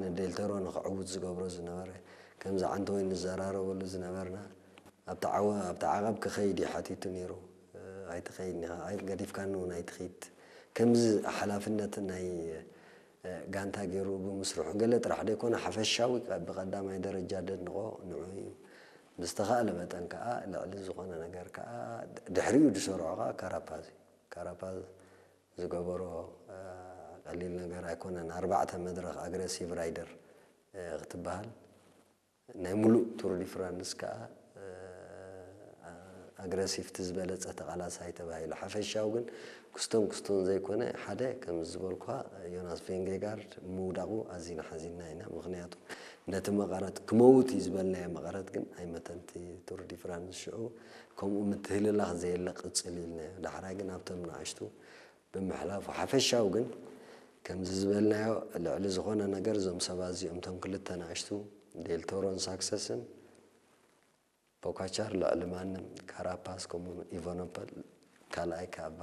ንዴልተሮ ንክዕውት ዝገብሮ ዝነበረ፣ ከምዚ ዓንተወይ ንዘራረበሉ ዝነበርና፣ ኣብቲ ዓወ-፣ ኣብቲ ዓቐብ ክኸይድ እዩ ሓቲቱ ነይሩ። ኣይትኸይድን ኢኻ፣ ኣይ-፣ ገዲፍካኒ እውን ኣይትኸይድ። ከምዚ ሓላፍነት ናይ፣ እ፣ ጋንታ ገይሩ ብምስርሑ፣ ገለ ጥራሕ ደይኮነ ሓፈሻዊ ቀ-፣ ብቐዳማይ ደረጃ ደድንቖ ንዑ እዩ። ብዝተኻእለ መጠን ከኣ ልዕሊ ዝኾነ ነገር ከኣ ድሕሪኡ ዝሰርዖ ከኣ ካራፓዝ እዩ። ካራፓዝ ዝገበሮ፣ እ፣ ቀሊል ነገር ኣይኮነን። ኣርባዕተ መድረኽ ኣግረሲቭ ራይደር፣ እ፣ ክትበሃል፣ ናይ ሙሉእ ቱር ዲ ፍራንስ ከኣ፣ እ፣ ኣግረሲቭቲ ዝበለጸ ተቓላሳይ ተባሂሉ። ሓፈሻዊ ግን ክስቶን ክስቶን ዘይኮነ፣ ሓደ ከም ዝበልኳ ዮናስ ቬንጌጋርድ ምውዳቑ ኣዚና ሓዚንና ኢና። ምኽንያቱ ነቲ መቐረት ክመውት እዩ ዝበልናዮ መቐረት ግን ኣይመተንቲ ቱር ዲ ፍራንስ ሽዑ ከምኡ ምትህልላኽ ዘየለ ቅጽል ኢልናዮ። ዳሕራይ ግን ኣብቶም ንኣሽቱ ብምሕላፉ ሓፈሻዊ ግን ከምዚ ዝበልናዮ ልዕሊ ዝኾነ ነገር እዞም ሰባት እዚኦም እቶም ክልተ ንኣሽቱ ዴልቶሮን ሳክሰስን ፖካቻር ልዕሊ ማንም ካራፓስ ከምኡ ኢቨኖፐል ካልኣይ ካባ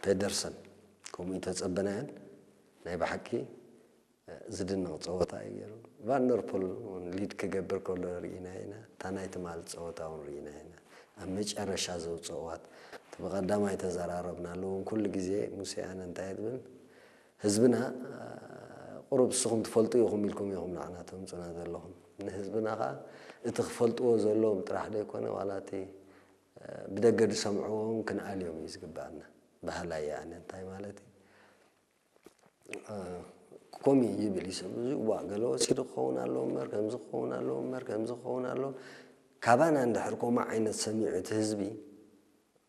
ፔደርሰን ከምኡ ተጸበናዮን ናይ ብሓቂ ዝድነቕ ጸወታ እዩ ገይሩ። ቫንደርፖል እውን ሊድ ክገብር ከሎ ርኢና ኢና። እታ ናይ ትማል ጸወታ እውን ርኢና ኢና። ኣብ መጨረሻ ዘውጽእዋት እቲ ብቐዳማይ ተዘራረብናሉ እውን ኩሉ ግዜ ሙሴ ኣነ እንታይ ትብል ህዝብና ቁሩብ ንስኹም ትፈልጡ ኢኹም ኢልኩም ኢኹም ንዓና ተምጹና ዘለኹም። ንህዝብና ኸኣ እቲ ክፈልጥዎ ዘለዎም ጥራሕ ደይኮነ ዋላ እቲ ብደገ ዝሰምዕዎም ክንኣልዮም እዩ ዝግብኣና። ባህላይ ኣነ እንታይ ማለት እዩ? ኮሚ ይብል ይሰብ እዚ እዋ ገለ ወሲዱ ክኸውን ኣለዎ እምበር ከምዚ ክኸውን ኣለዎ እምበር ከምዚ ክኸውን ኣለዎ። ካባና እንድሕር ከምኡ ዓይነት ሰሚዑ እቲ ህዝቢ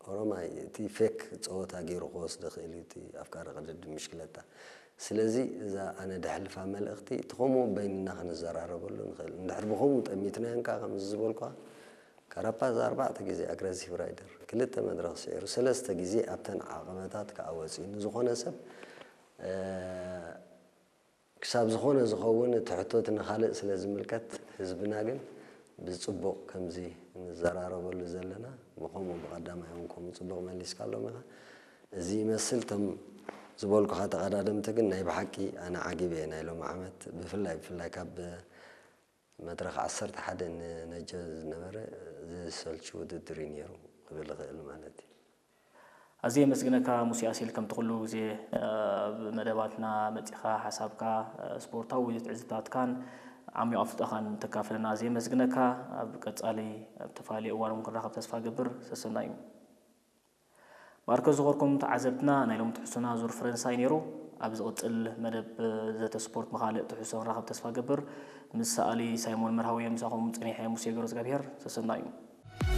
ኦሮማይ እቲ ፌክ ጸወታ ገይሩ ክወስድ ይኽእል እዩ እቲ ኣፍቃሪ ቅድድም ምሽክለታ። ስለዚ እዛ ኣነ ደሕልፋ መልእኽቲ እቲ ከምኡ በይንና ክንዘራረበሉ ንኽእል። እንድሕር ብኸምኡ ጠሚትናዮን ከኣ ከምዚ ዝበልኳ ካራፓዝ ኣርባዕተ ግዜ ኣግረሲቭ ራይደር ክልተ መድረኽ ስዒሩ ሰለስተ ግዜ ኣብተን ዓቐበታት ከኣ ወጺኡ ንዝኾነ ሰብ ክሳብ ዝኾነ ዝኸውን እቲ ሕቶ እቲ ንኻልእ ስለ ዝምልከት ህዝብና ግን ብጽቡቕ ከምዚ ንዘራረበሉ ዘለና ብኸምኡ ብቐዳማይ እውን ከምኡ ጽቡቕ መሊስካሎም ኢኻ። እዚ ይመስል እቶም ዝበልኩኻ ተቐዳደምቲ ግን ናይ ብሓቂ ኣነ ዓጊበ እየ ናይ ሎሚ ዓመት ብፍላይ ብፍላይ ካብ መድረኽ ዓሰርተ ሓደ ንነጀ ዝነበረ ዝሰልች ውድድር እዩ ነይሩ ክብል እኽእል ማለት እዩ። ኣዝየ የመስግነካ ሙሴ ኣሴል ከምቲ ኩሉ ግዜ ኣብ መደባትና መጺኻ ሓሳብካ ስፖርታዊ ትዕዝብታትካን ዓሚቕ ኣፍልጦኻን ተካፍለና ኣዝየ የመስግነካ። ኣብ ቀጻሊ ኣብ ተፈላለየ እዋን እውን ክንራኸብ ተስፋ ገብር። ሰሰና እዩ። ማርከ ዝኸርኩም ተዓዘብትና ናይ ሎም ትሕሱና ዙር ፈረንሳይ ነይሩ። ኣብ ዝቕጽል መደብ ዘተ ስፖርት መኻልእ ትሕሶ ክንራኸብ ተስፋ ገብር። ምስ ሰኣሊ ሳይሞን መርሃዊ ምሳኹም ጸኒሐ ሙሴ ገብረ እግዚኣብሔር። ሰሰና እዩ።